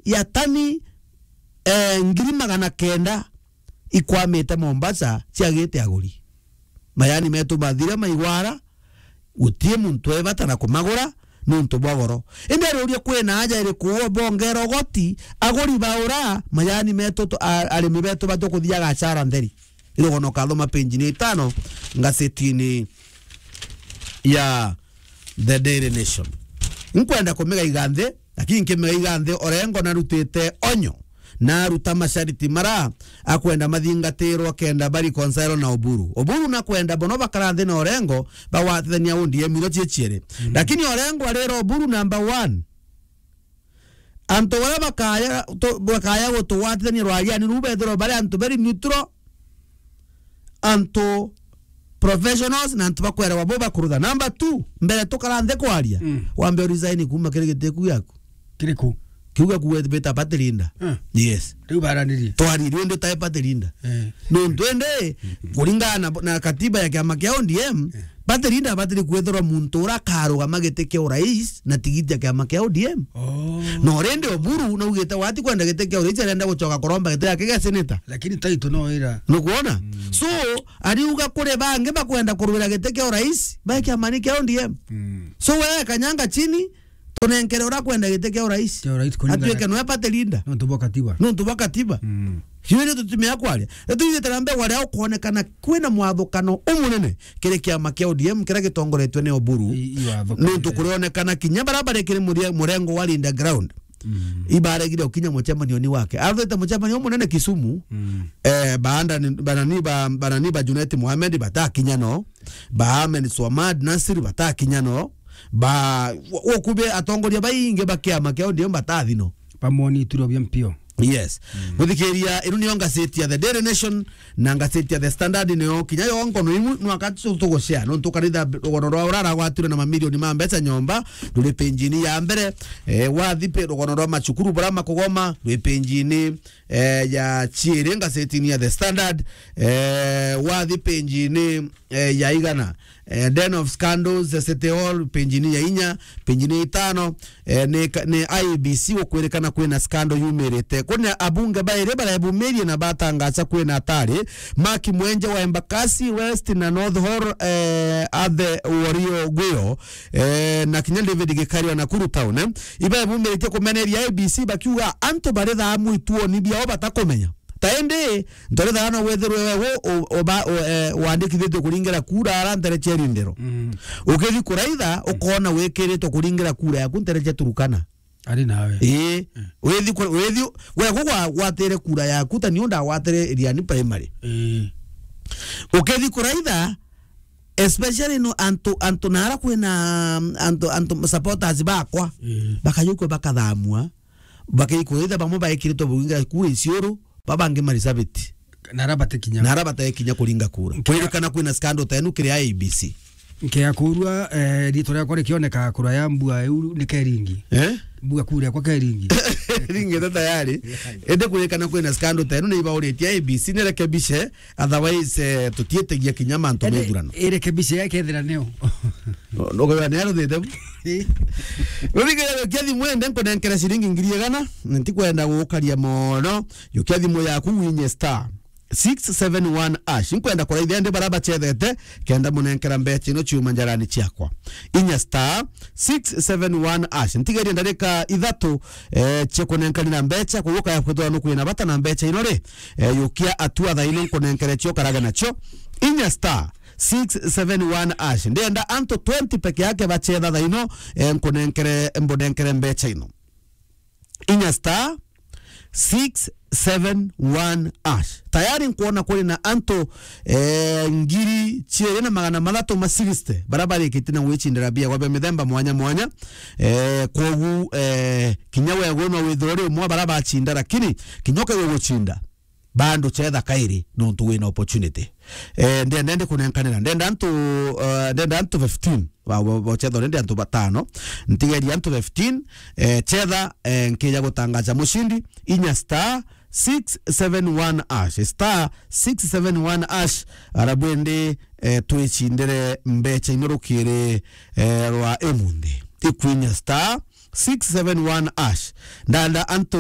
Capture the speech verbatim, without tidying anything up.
ya tani, eh, ngiri magana kenda ikwamite Mombasa ciagite aguri. Majani metu mathire maigwara, guti muntu ebata na kumagura nuntu bwa goro. Indi ariuria kwina aja iriku bongera ugoti, aguri baura, majani metu tu-, a-, arimi betu batukuthiaga hasara ntheri. Irugono kathoma page ni itano ngazetini ya The Daily Nation. Nkwenda kumiga iganthi, lakini nkimiga iganthi, Orengo narutite onyo, naruta mashariti mara akwenda mathingatirwa kenda ba reconcile na Oburu. Oburu nakwenda bono bakara nthi na Orengo, bagwatithania O D M iro cie cieri. Mhm. Lakini Orengo arira Oburu number one. Antu baria bakaya tu-, bakaya gutugwatithania rwariani ruu bethirwa bari antu very neutral, antu professionals na antu bakwerewa bo bakurutha. Number two, mbere tukara nthi kwaria, Mm. wambe u resign kuuma kiri giti kiu giaku. Kiriku? Kiu giaku we bita party leader. Ah. Yes. Riu baranirie. Twariri undi utae party leader. Eh. Nuntu indi, kuringana na, na katiba ya kiama kia O D M, Eh. party leader abatiri kwithirwa muntu uria akarugama giti kia urais na tigiti ya kiama kia O D M. Oh. No rindi Oburu naugite wati kwenda giti kia urais, arenda gucoka kuromba giti yake gia senator. Lakini title no ira. Nukwona? Mm. So, ariuga kuri bangi bakwenda kurwira giti kia urais, ba kiamani kia O D M. Mm. So, we kanyanga chini, tunenkere uria kwenda giti kia urais. Kia urais kuringana Atuike nwe party leader. Nontu bwa katiba. Nontu bwa katiba. Mm. Hiyo ndio tutumia kwaria. Na tuigite na mbere waria ukonekana kwina mwathukano umunene kiri kiama kia O D M kiria gitongoretwe ni Oburu. I-, iwathukana. Nontu kurionekana kinya baria bari kiri murie-, murengo wa Linda Ground. Mm. Ibaregire ukinya mucemanio ni wake. Athite mucemanio munene Kisumu. Mm. Eh, baanda ni, banani ba, banani ba Junet Mohamed batakinya no. Ba Ahmed Swamad Nasir batakinya no. Ba, wo-, wokubi atongoria baingi ba kiama kia O D M batathi no. Bamwoni ituro bia mpio. Yes. Mm. Muthikiria, inu niyo ngaceti ya The Daily Nation na ngaceti ya The Standard niyo kinya yo ngono imu nwaka tu-, tugucea. Nontu karitha rugono rwa urara gwatire na mamilioni ma mbeca nyomba, ruri penjini ya mbere. Eh, wathi pe rugono rwa macukuru bara makugoma, rwi penjini, eh, ya ciiri ngazetini ya The Standard. Eh, wathi penjini eh, ya igana. Eh, Den of Scandals, eh, City Hall, penjini ya inya, penjini ya itano, eh, ni ka-, ni I E B C gukwirikana kwina scandal yumirite. Kwina abunge bairi barebumirie na batangaca kwina atari Mark Mwenje wa Embakasi West na North Hall, eh, Athe Wario Guyo, eh, na kinya David Gikari wa Nakuru Town, eh. Ibaebumiritie kumeneria I E B C bakiuga antu bari thamu ituoni biao batakumenya. Ta indi, ntorethaga no wethirwe we u-, u-, uba-, u-, eh, wandikithitue kuringira kura ara ntere cia irindiro. Mm. Ukithi kuraitha, Mm. ukona wikiritwe kuringira kura yaku ntere cia Turukana. Ari nawe. Ii. Mm. Withi ku-, withi, we gugwa-, gwatire kura yaku, ta niu ndagwatire Iriani Primary. Ii. Ukithi kuraitha, especially no antu, antu nara kwina, antu, antu supporters bakwa, Ii. bakayukua bakathamua. Bakaikwithia bamwe baikiritwe buingira kuu Isiolo, babangi Marisabit. Na ara batikinya. Na ara batekinya kuringa kura. Nkea- Kwirikana kwina scandal ta inu kiri I E B C. Nkea kurua, eh, ritwa riakwa rikioneka kura ya mbua iu ni Keringi. Eh? Mbua kura yakwa Keringi. Ringite tayari. Indi kwirikana kwina scandal ta inu ni ibauritie I E B C ni rekebishe, otherwise, eh, tutiitegia kinya mantu ma ithurano. Irekebishe ya kethira nio. Nugwira ni aruthite bu. Rurigire jukia thimu ende nkunenkere ciringi ngiri igana, ntikwenda gukaria mono. Jukia thimu yaku winye star six seven one hash. Nkwenda kuraithia ndi bara bachethete, kenda munenkera mbecha ino ciuma njarani ciakwa. Inya star six seven one hash. Ntigerie ndarika ithatu, eh, cia kunenkanira mbecha, kuguka ya kwithwa nukwina bata na mbecha ino ri, eh, jukia atua thaino nkunenkere cio karage nacio. Inya star six seven one hash. Ndenda antu twenty peke yake bachetha thaino, eh, nkunenkere, mbunenkere mbecha ino. Inya star six seven one hash. Tayari nkwona kuri na antu, eh, ngiri ciiri na magana mathatu ma sixty bara barikite na gwicindira bia gwa bia mithemba mwanya mwanya. Eh, kwogu, eh, kinya we gwe no withire uri umwe bara bacinda, lakini kinya ukegwe gucinda, bado chetha kairi nontu wina opportunity. Eh, ndenda ndi kunenkanira, ndenda antu, eh, ndenda antu fifteen ba, ba, ba chetha, ndi antu batano, ntigeria antu fifteen, eh, chetha, eh, nkija gutangaza mushindi, inya star six seven one hash, star six seven one hash, ara bwendi, eh, twicindire mbecha ino rukiri, eh, rwa imunthi. Ikwinya star six seven one hash. Ndanda antu